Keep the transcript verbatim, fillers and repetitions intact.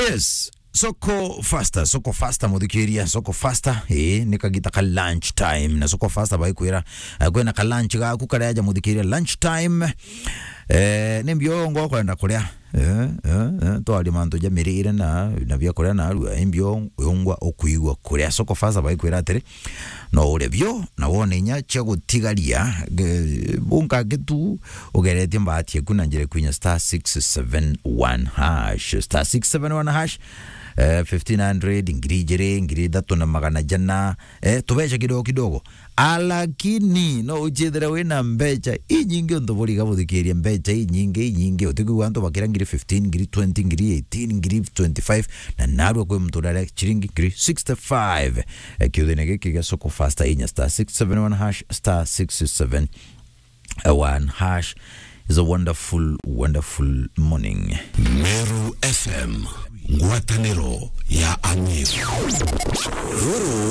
Yes. Soko Faster, Soko Faster, muthikiria, Soko Faster, eh, ni kagita ka lunch time. Na Soko Faster baikwira, eh, kwina ka lunch gaku karia aja muthikiria lunch time. Eh, ni mbio ngo kwenda kuria. Eh, eh, eh, twaria mantu ja mirire na, na bia kuria na arua, ni mbio ungwa ukuigua kuria. Soko Faster baikwira atiri, no urie bio, na wone inya cia gutigaria, ge-, bunka gitu, ugeretie mbaati eku na njira kwinya star six seven one hash, star six seven one hash, eh, fifteen hundred, ngiri ijiri, ngiri ithatu na magana jana, eh, tubeca kidogo kidogo. Alakini, no uchithire wina mbeca inyingi untu buriga buthikirie mbeca inyingi, inyingi. Utikwigua antu bakira ngiri fifteen, ngiri twenty, ngiri eighteen, ngiri twenty-five, na narua kwi muntu urare chiringi ngiri sixty-five. Eh, kiuthine giki gia Soko Faster inya star six seven one hash, star six seven one hash. Is a wonderful, wonderful morning. Meru F M, ngwataniro ya Amiru. Ruru